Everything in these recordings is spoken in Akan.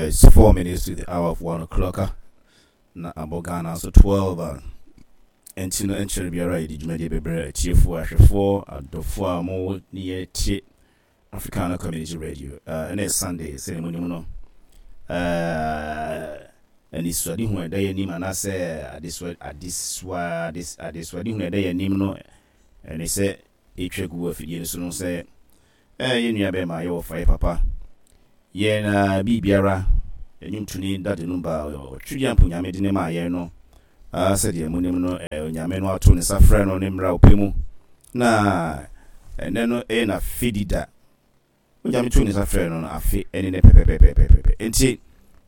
It's 4 minutes to the hour of 1 o'clock. Na abɔ Ghana so 12 a ɛnti no ɛnkyɛre biara yɛde dwumadie bebrɛ atiefoɔ, ahwɛfoɔ, adɔfoɔ a mo ne yɛ tie Africana Community Radio. Ɛnɛ yɛ Sunday, sɛdeɛ monim no, anisoadehu a ɛda yɛn anim anaasɛ adesoa adesoa adesoadehu a ɛda yɛn anim no ɛne sɛ ɛtwa gu afidie no so no sɛ yɛn nua bɛrima, yɛwɔ fa yɛ papa, yɛn biribiara, nnwomtoni Daddy Lumba, ɔtwedeɛ mpo Nyame de ne maa yɛn no, sɛdeɛ monim no, Onyame no ato ne nsa frɛ no ne mmerɛ a ɔpɛ mu, na ɛnɛ no ɛyɛ n'afedi da. Onyame to ne nsa frɛ no no afe ɛne ne pɛpɛpɛpɛpɛ. Nti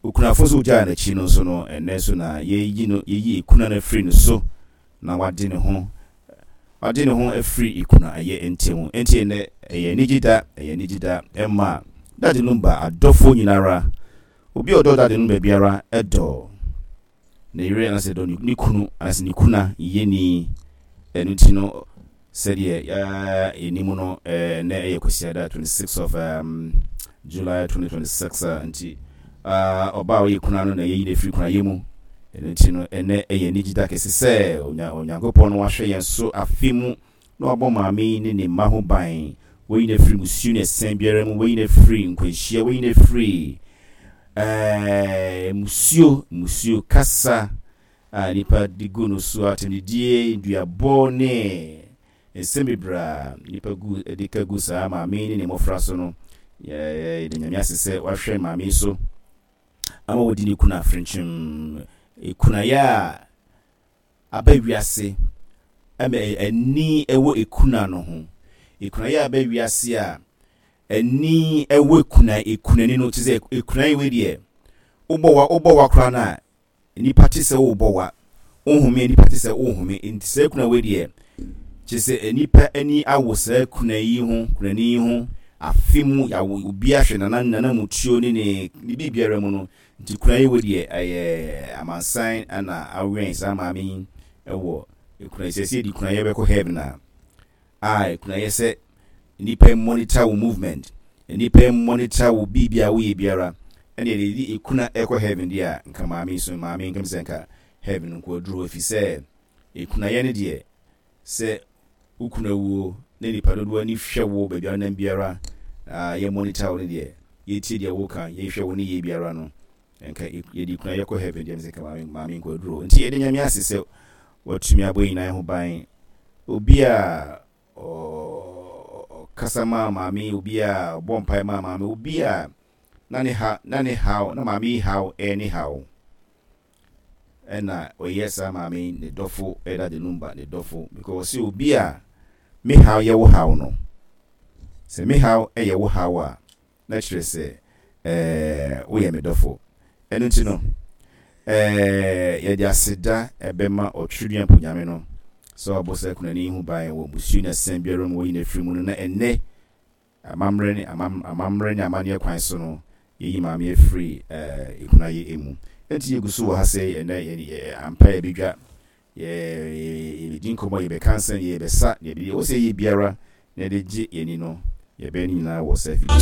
okunafo nso ogyaa n'akyi no nso no, ɛnɛ nso na yɛyi no, yɛyi ekuna no afiri no so na wade ne ho afiri ekuna ɛyɛ ntɛm. Nti ɛnɛ ɛyɛ anigye da, ɛyɛ anigye da ɛma Daddy Lumba adɔfoɔ nyinara. Obi a ɔdɔ Daddy Lumba biara ɛdɔ ne yere anaasɛ dɔ ne kunu anaasɛ ne kuna yɛni. Ɛno nti no, sɛdeɛ yɛnim no, ɛnɛ ɛyɛ Kwasiada 26 of July 2026. Nti ɔbaa a ɔyɛ kuna no na yɛyi no afiri kunayɛ mu. Ɛno nti no, ɛnɛ ɛyɛ anigye da kɛse sɛ Onyankopɔn no wahwɛ yɛn so afe mu na wabɔ maame yi ne ne mma ho ban, wayi no afiri musuo ne ɛsɛn biara mu, wayi no afiri nkwanhyia, wayi no afiri musuo kasa a nipa de gu no so, atɛmdidie, nduabɔ ne nsɛm bebree a nipa gu de ka gu saa maame yi ne ne mmɔfra so no. Yɛde Nyame ase sɛ wahwɛ maame yi so ama wɔdi ne kuna afrenkyem kunayɛ a aba wiase ama ani ɛwɔ ekuna no ho, ekunayɛ a aba wiase a ani ɛwɔ ekuna ekunani no te sɛ ekuna yi. Wei deɛ, wobɔ wa koraa no a, nipa te sɛ wobɔ wa, wohome, nipa te sɛ wohome. Nti saa kuna wei deɛ, kyerɛ sɛ nipa ani awo saa kuna yi ho, kunani yi ho afe mu yawo obi ahwɛ nana mutuo ne biribiara mu no. Nti kuna yi wei deɛ, ɛyɛ amansan ana awɛn saa maame yi ɛwɔ ekuna yi. Sɛ yɛde kuna yɛ bɛkɔ heaven a ekuna yɛ sɛ nipa monitor wo movement, nipa monitor wo biribi a woyɛ biara, ɛna yɛde ekuna ɛkɔ heaven deɛ a, nka maame yi so, maame nkam sɛ nka heaven nko aduro, efi sɛ ekunayɛ no deɛ, sɛ wokunu awuo na nipa dodoɔ ani hwɛ wo baabi a wonam biara, yɛ monitor wo no deɛ, yɛtie deɛ woka, yɛhwɛ wo ne yɛ biara no, nka yɛde kuna yɛkɔ heaven deɛ, sɛ nka maame nkɔ aduro. Nti yɛde Nyame ase sɛ watumi abɔ nyinaa ho ban. Obi a ɔkasa maa maame, obi a ɔbɔ mpae maa maame, obi a na ne ha na ne haw na maame yi haw ɛyɛ ne haw, ɛna ɔyɛ saa maame yi ne dɔfo, ɛda de Lumba ne dɔfo, because ɔsɛ obi a me haw yɛ wo haw no, sɛ me haw ɛyɛ wo haw a, na kyerɛ sɛ woyɛ me dɔfo. Ɛno nti no, yɛde aseda ɛbɛma ɔtweredua mpo Nyame no sɛ wabɔ saa kunani yi ho ban wɔ musuo ne asɛm biara mu, wɔyi no afiri mu no, na ɛnnɛ amammerɛ ne amanneɛ kwan so no, yɛyi maame afiri ekunayɛ mu. Nti yɛgu so wɔ ha sɛ ɛnɛ yɛ ampa yɛbɛdwa, yɛbɛdi nkɔmmɔ, yɛbɛka nsɛm, yɛbɛsa, yɛbɛyɛ wɔ sɛ yɛ biara na yɛde gye yɛni no, yɛbɛn no nyinaa wɔ saa fidie.